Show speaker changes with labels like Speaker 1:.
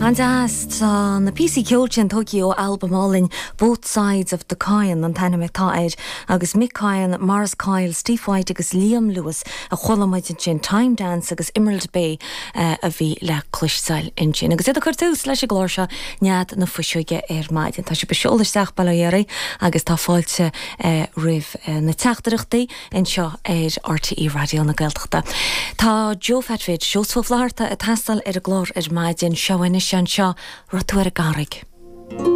Speaker 1: An-deas. Tá na píosaí ceoil sin tógtha ó albam álainn Both Sides of the Coyne an t-ainm atá air agus Mick Coyne, Maurice Coyle, Steve White agus Liam Lewis a chuala muid ansin. Time Dance agus Emerald Bay a bhí le cloisteáil ansin. Agus iad ag cur tús leis an gclár seo Nead na Fuiseoige ar maidin. Tá sibh ag seoladh isteach, bail ó Dhia oraibh, agus tá fáilte roimh na teachtaireachtaí. anseo ar RTÉ Raidió na Gaeltachta. Tá Joe Phat Bhid, Seosamh Ó Flatharta ag teastáil ar an gclár ar maidin. Seo anois anseo, Raibh tú ar an gCarraig.